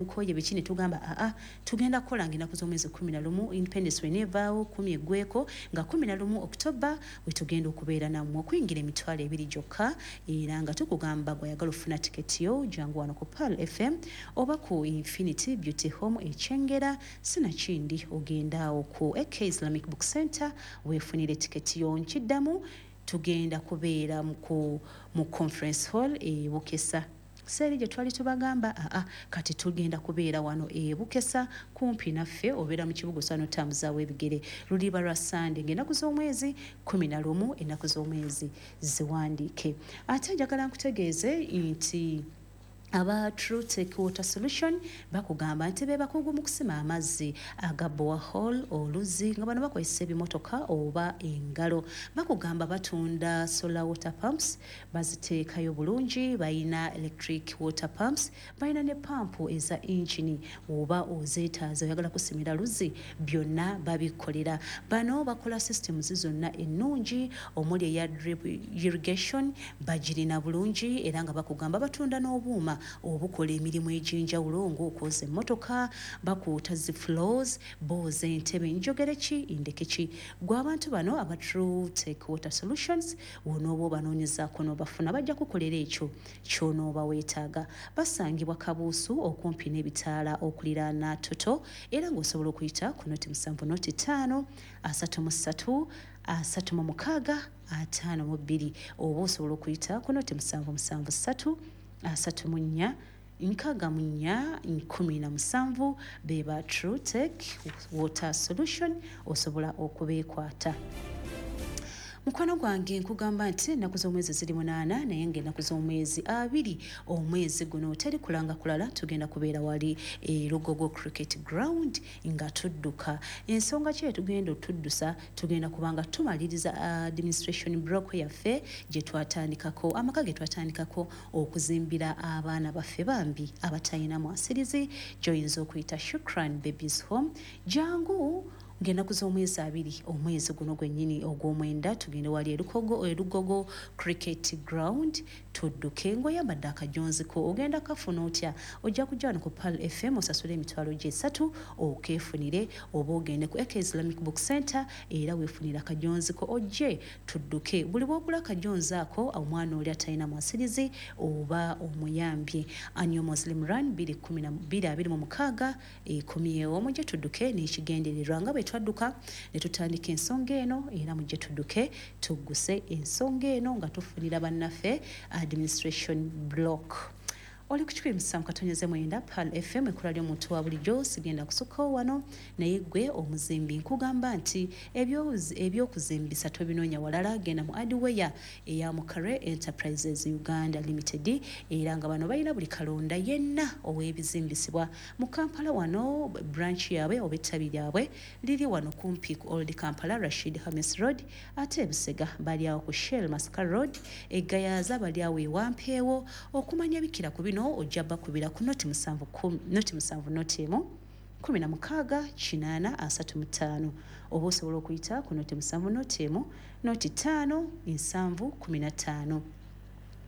Nkoye biki ne tugamba aa tugenda kukola nga ennaku z'omwezi 11 Independence weneevaawo 10 eggweko nga 11 October we tugenda okubeera nammwe okuyingira 20,000 gyokka, era nga tukugamba gwayagala ofuna tiketi yo jangu wano ku Pearl FM oba ku Infinity Beauty Home Ekyengera, sinakindi ogenda awo ku AK Islamic Book Center weefunire tiketi yo. Nkiddamu, tugenda kubeera mu conference hall e Bukesa seeri gye twali tubagamba. Aa kati tugenda kubeera wano e Bukesa kumpi naffe, obeera mu kibuga osobola n'otambuzaawo ebigere. Luliba lwa Sande ng'ennaku z'omwezi 11, ennaku z'omwezi ziwandiike. Ate njagala nkutegeeze nti aba True Tech Water Solution bakugamba nti be bakugu mu kusima amazzi aga borehole, oluzzi, nga bano bakozesa ebimotoka oba engalo. Bakugamba batunda solar water pumps, baziteekayo bulungi, balina electric water pumps, balina ne pampu eza engine oba ozeetaaza oyagala kusimira luzzi, byonna babikolera. Bano bakola systems zonna ennungi omuli eya drip irrigation, bagirina bulungi, era nga bakugamba batunda n'obuuma obukola emirimu egy'enjawulo ng'okwoza emmotoka, bakuuta zi floors, booza entebe, njogere ki ndeke ki. Gwe abantu bano aba True Tech Water Solutions wonooba obanoonyezaako n'obafuna, bajja kukolera ekyo ky'onooba weetaaga. Basangibwa Kabuusu okumpi n'ebitaala okuliraana Toto, era ng'osobola okuyita ku 0 7 0 5 33 36 52, oba osobola okuyita ku 0 7 7 3 34 64 17. Beba True Tech Water Solution, osobola okubeekwata. Mukwano gwange, nkugamba nti ennaku z'omwezi ziri 8, naye ng'ennaku z'omwezi 20 omwezi guno teri kulanga kulala, tugenda kubeera wali e Lugogo Cricket Ground nga tudduka. Ensonga ki etugenda otuddusa? Tugenda kubanga tumaliriza administration block yaffe gye twatandikako, amaka ge twatandikako okuzimbira abaana baffe bambi abatalina mwasirizi, gy'oyinza okuyita Shukran Babies Home. Jangu ng'ennaku z'omwezi 20 omwezi guno gwennyini ogw'omwenda, tugende wali e Lugogo Cricket Ground tudduke ng'oyambadde akajonziko. Ogenda kafuna otya? Ojja kujja wano ku Pearl FM osasule 300,000 okeefunire, oba ogende ku AK Islamic Book Center era weefunire akajonziko ojje tudduke. Buli bw'ogula akajonzi ako, omwana oli atalina mwasirizi oba omuyambye. Annual Muslim Run 2026 ekomyewo, mujje tudduke n'ekigendererwa nga bwe twadduka ne tutandika ensonga eno, era mujje tudduke tugguse ensonga eno nga tufunira bannaffe administration block. Oli ku 107.9 Pearl FM, ekkula ly'omuntu wa bulijjo. Sigenda kusukkawo wano, naye gwe omuzimbi nkugamba nti ebyokuzimbisa tobinoonya walala, genda mu hardware eya Mukare Enterprises Uganda Limited, era nga bano balina buli kalonda yenna ow'ebizimbisibwa mu Kampala wano. Branch yaabwe oba ettabi lyabwe liri wano kumpi ku Old Kampala, Rashid Hamis Road, ate ebusega bali awo ku Shell Masaka Road, egayaza bali awo ewampeewo. Okumanya bikira ku bino ojja bakubira ku 07 0 7 0 1 16 80 35, oba osobola okuyita ku 07 0 1 0 5 7 15.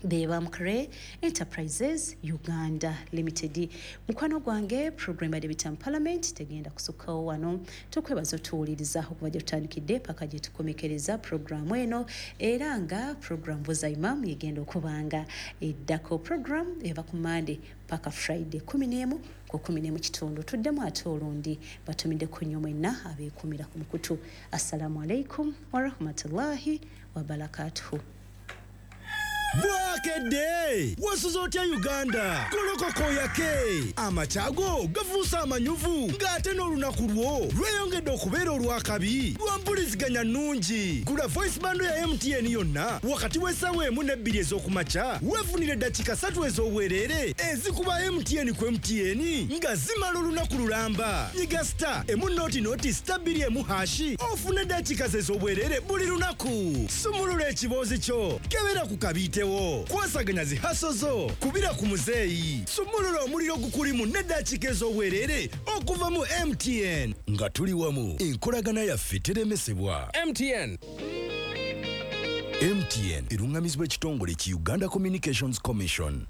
Beba Mukre Enterprises Uganda Limited. Mukwano gwange, program ya Debate Parliament tegenda kusukkawo wano. Tukwebaza otuwuliriza okuva gye tutandikidde paka gye tukomekereza programu eno, era nga program Buza Imam yegenda okubanga eddako. Program eva ku Monday paka Friday 11 ku 11 kitundu. Tuddemu ate olundi. Batumiddeko nnyo mwenna abeekumira ku mukutu. Assalamu alaikum warahmatullahi wabarakatuhu. Bwakedde, wasuze otya Uganda? Golokoka oyake, amakyago gafuuse amanyuvu, ng'ate n'olunaku lwo lweyongedde okubeera olwakabi lwa mpuliziganya nnungi. Gula voice bundle ya MTN yonna wakati w'essaawa 1 ne 2 ez'okumakya, weefunire eddakiika 3 ez'obwereere ezikuba MTN ku MTN nga zimala olunaku lulamba. Nyiga *100*2 1# ofune eddakiika ze ez'obwereere buli lunaku. Sumulula ekiboozi kyo, kebera ku kabiitewo, kwasaganya zi hustle zo, kubira ku muzeeyi, sumulula omuliro gukulimu n'eddakiika ez'obwereere okuva mu MTN. Nga tuli wamu, enkolagana yaffe teremesebwa. MTN. MTN eruŋŋamizibwa ekitongole ki Uganda Communications Commission.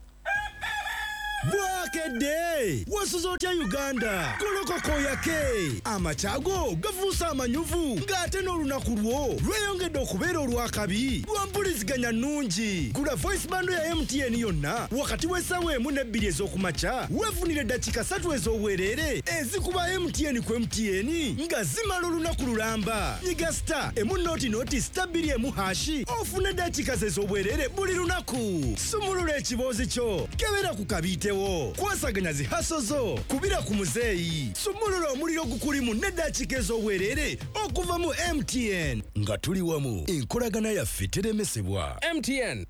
Bukedde, wasuze otya Uganda? Golokoka oyake. Amakya go gafuuse amanyuvu ng'ate n'olunaku lwo lweyongedde okubeera olwakabi lwa mpuliziganya nnungi. Gula voice bundle ya MTN yonna wakati w'essaawa 1 ne 2 ez'okumakya, weefunire eddakiika 3 ez'obwereere ezikuba MTN ku MTN nga zimala olunaku lulamba. Nyiga star emu noti noti star 2 emu hashi ofune eddakiika ez'obwereere buli lunaku. Sumulula ekiboozi kyo, kebera ku kabiitewo, kwasaganya zi hustle zo, kubira ku muzeeyi, sumulula omuliro gukulimu n'eddakiika ez'obwereere okuva mu MTN. Nga tuli wamu, enkolagana yaffe teremesebwa. MTN.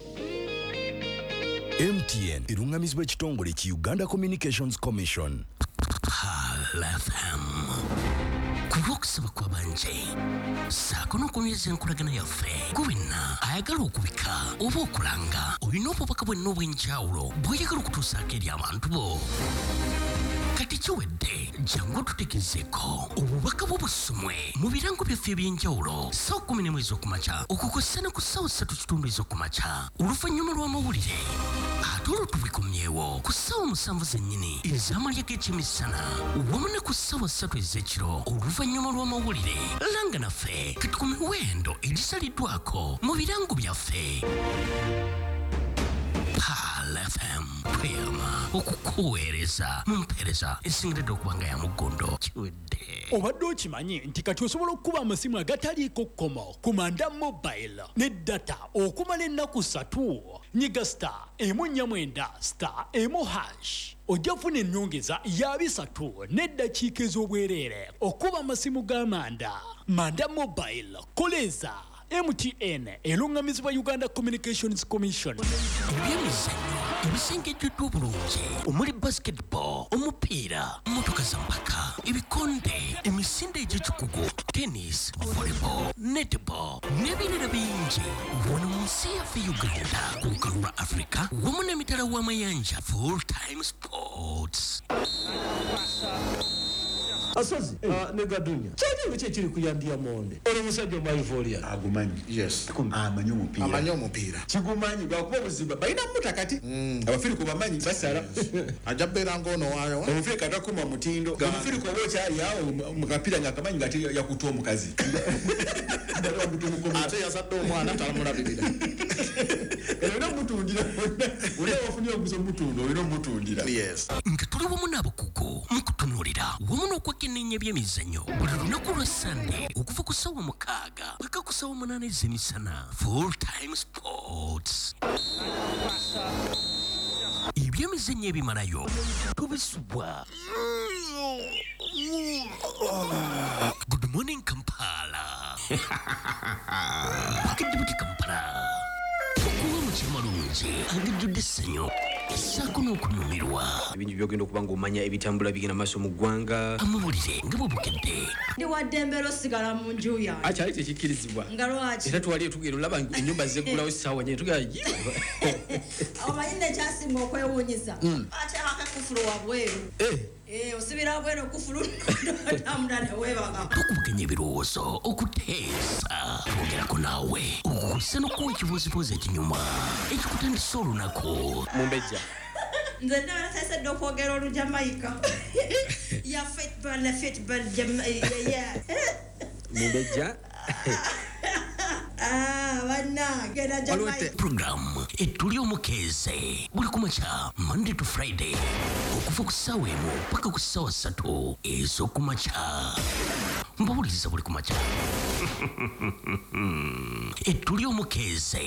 MTN erungamizibwa ekitongole ki Uganda Communications Commission. Pearl FM. Ku lw'okusaba kw'abanje ssaako n'okunyweza enkolagana yaffe, gwe wenna ayagala okubika oba okulanga olina obubaka bwenna obw'enjawulo bw'oyagala okutuusaako eri abantu bo. Kati kiwedde, jangu otutegezeeko obubaka bwo busomwe mu birango byaffe eby'enjawulo ssaawa 11 ez'okumakya okukosa ne ku ssaawa 3:15 ez'okumakya oluvannyuma lw'amawulire, ate olwo tubikomyewo ku ssaawa 7 zennyini ez'amalya g'ekyemisana wamu ne ku ssaawa 3 ez'ekiro oluvannyuma lw'amawulire. Langa naffe kati ku miwendo egisaliddwako mu birango byaffe. Pearl FM tweyama okukuweereza mu mpeereza esingiridde okuba nga ya muggondo. Kiwedde. Obadde okimanyi nti kati osobola okukuba amasimu agataliiko kkomo ku Manda Mobile ne data okumala ennaku 3? Nyiga star 149 star 1 hash ojja kufuna ennyongeza ya 3 n'eddakiika ez'obwereere okuba amasimu ga Manda. Manda Mobile, koleza MTN erungamizibwa Uganda Communications Commission. Ebyemizannyo ebisengejjeddwa obulungi omuli basketball, omupiira, mmotoka za mpaka, ebikonde, emisinde egy'ekikugu, tennis, volleyball, netball n'ebirala bingi. Wano mu nsi yaffe Uganda, ku lukalu lwa Africa wamu n'emitala w'amayanja. Full time sports. Asozi ne Gadunya kyali ki ekiri ku Yandia Monde? Oli musajja omwaivolia agumanyi. Yes, amanyi omupiira, amanyi omupiira kigumanyi lwakuba obuzibu balina muta kati abafirika bamanyi basala ajja bbeera ng'ono waayo omufirika atakuma mutindo. Omufirika oba okyali awo mu kapiira ng'akamanyi nga ate yakuta omukazi ate yazadde omwana talamulabirira. Olina omutundira, olina wafunye omuguzi omutunda, olina omutundira. Yes. Nga tuli wamu n'abakugu mu kutunuulira wamu n'okwekenneenya ebyemizannyo buli lunaku lwa Sande okuva ku ssaawa 6 paka ku ssaawa 8 ez'emisana. Full time sports. Ebyemizannyo ebimalayo tubisubwa. Good morning Kampala. Bukedde buti Kampala. Okuwa mu kimalungi agajjudde essanyu ssaako n'okunyumirwa. Ebintu by'ogenda okuba ng'omanya ebitambula bigenda maaso mu ggwanga. Amawulire nga bwe bukedde. Ndi wa ddembe osigala mu nju yange. Akyali tekikkirizibwa. Nga lwaki? Era twali tugenda olaba ennyumba zeggulawo essaawa nnya tugenda yi. Omanyi nekyasinga okwewuunyisa? Ateekako ekkufulu wabweru. Osibira wabweru ekkufulu n'otambula ne weebaka. Tukubaganya ebirowoozo okuteesa. Twogerako naawe okukusa n'okuwa ekibuuzibuuzi ekinyuma ekikutandisa olunaku. Mumbejja. Nze ndaba nateesedde okwogera Olujamaika. Ya football, football, yeah. Mumbejja. Bannange na Jamaica. Program etuli omukeeze buli kumakya Monday to Friday okuva ku ssaawa 1 paka ku ssaawa 3 ez'okumakya. Mbawuliriza buli kumakya. Etuli omukeeze.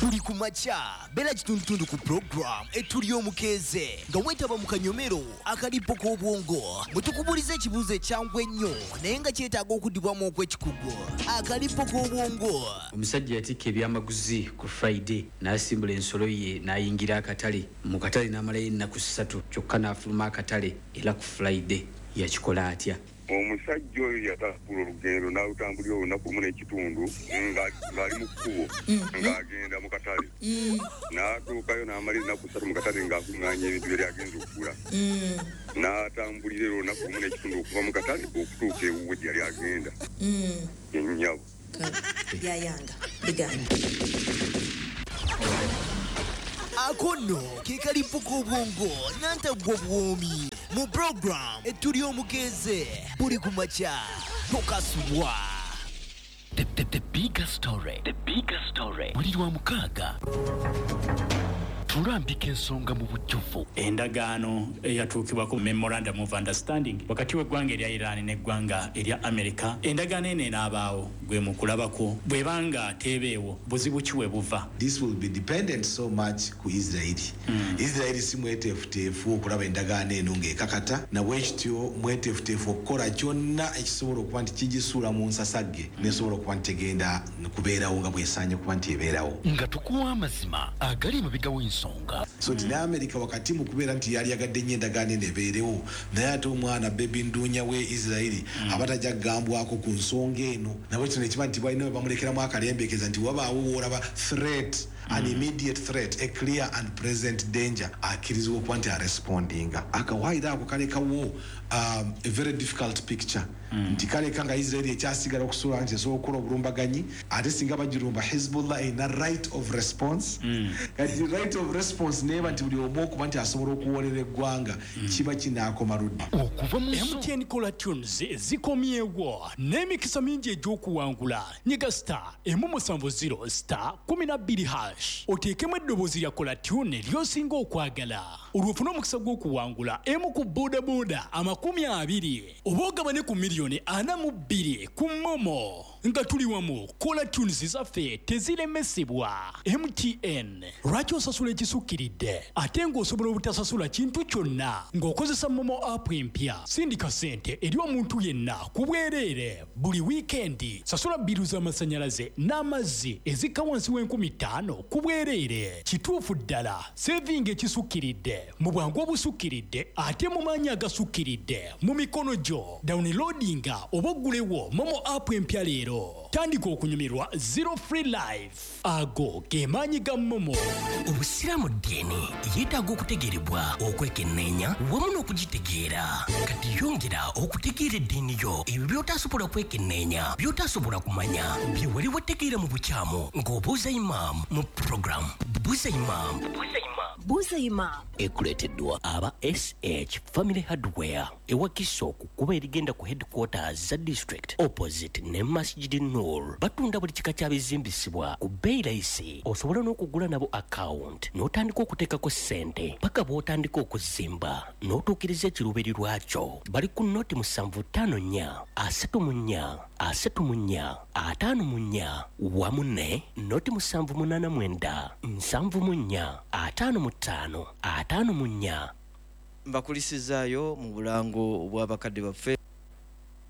Buli kumakya beera kitundutundu ku program etuli omukeeze nga weetaba mu kanyomero akalipo k'obwongo bwe tukubuuliza ekibuuzo ekyangu ennyo naye nga kyetaaga okuddibwamu okw'ekikugu. Akalipo k'obwongo. Omusajja yatikka ebyamaguzi ku Friday n'asimbula ensolo ye n'ayingira akatale. Mu katale n'amalayo ennaku 3 kyokka n'afuluma akatale era ku Friday. Yakikola atya? Omusajja oyo yatambula olugendo n'alutambulira olunaku lumu n'ekitundu ng'ali mu kkubo ng'agenda mu katale. N'atuukayo n'amala ennaku 3 mu katale ng'akuŋŋaanya ebintu bye yali agenze okugula. N'atambulira era olunaku lumu n'ekitundu okuva mu katale okutuuka ewuwe gye yali agenda. Ennyabo. Byayanga biganda. Ako nno ke kalipo k'obwongo nantaggwa buwoomi mu program Etuli Omukeeze buli ku makya tokasubwa. The bigger story. The bigger story. Buli lwa mukaaga tulambika ensonga mu bujjuvu. Endagaano eyatuukibwako, memorandum of understanding, wakati w'eggwanga erya Iran n'eggwanga erya America, endagaano eno enaabaawo gwe mu kulabako? Bw'ebanga teebeewo, buzibu ki we buva? This will be dependent so much ku Israeli. Israeli si mweteefuteefu okulaba endagaano eno ng'ekakata, nabwekityo mweteefuteefu okukola kyonna ekisobola okuba nti kigisuula mu nsasagge nesobola okuba nti tegenda kubeerawo nga bwesaanye okuba nti ebeerawo. Nga tukuwa amazima agali emabega w'ensonga. So nti ne America wakati mu kubeera nti yali yagadde nnyo endagaano eno ebeerewo, naye ate omwana bebi nduunya we Israeli aba tajja kugambwako ku nsonga eno. Nabwe kino ekiba nti balina we bamulekeramu akalembekeza nti wabaawo woolaba threat, an immediate threat, a clear and present danger, akkirizibwa okuba nti arespondinga. Akawaayiro ako kalekawo a very difficult picture, nti kaleka nga Israeli ekyasigala okusobola nti esobola okukola obulumbaganyi, ate singa bagirumba, Hezbollah erina right of response. Kati right of response neeba nti buli omu okuba nti asobola okuwolera eggwanga, kiba kinaakoma ludda? Okuva mu MTN Caller Tunes zikomyewo n'emikisa mingi egy'okuwangula. Nyiga star 170 star 12 hash, oteekemu eddoboozi lya caller tune ly'osinga okwagala, olwo ofune omukisa gw'okuwangula emu ku bodaboda 20 oba ogabane ku miliyoni 42 ku MoMo. Nga tuli wamu, caller tunes zaffe teziremesebwa. MTN, lwaki osasula ekisukkiridde ate ng'osobola obutasasula kintu kyonna ng'okozesa MoMo app empya? Sindika ssente eri omuntu yenna ku bwereere buli wiikendi. Sasula bill z'amasannyalaze n'amazzi ezikka wansi w'5,000 ku bwereere. Kituufu ddala, saving ekisukkiridde mu bwangu obusukkiridde ate mu maanyi agasukkiridde mu mikono gyo. Downloadinga oba oggulewo MoMo app empya leero, tandika okunyumirwa zero free life. Ago ge maanyi ga MoMo. Obusiraamu ddiini yeetaaga okutegeerebwa, okwekenneenya wamu n'okugitegeera. Kati yongera okutegeera eddiini yo. Ebyo by'otasobola kwekenneenya, by'otasobola kumanya, bye wali wategeera mu bukyamu, ng'obuuza imaamu mu puroguramu Buuza Imaamu. Buuza Imaamu. Ekuleeteddwa aba SH Family Hardware, ewakiso ku kkubo erigenda ku headquarters za district, opposite ne Masjid Nur. Batunda buli kika kya bizimbisibwa ku bbeeyi layisi. Osobola n'okugula nabo account n'otandika okuteekako ssente paka bw'otandika okuzimba n'otuukiriza ekiruubirirwa kyo. Bali ku noti 754 34 34 54 wamu ne noti 789 74 55 54. Mbakulisizaayo mu bulango bw'abakadde baffe.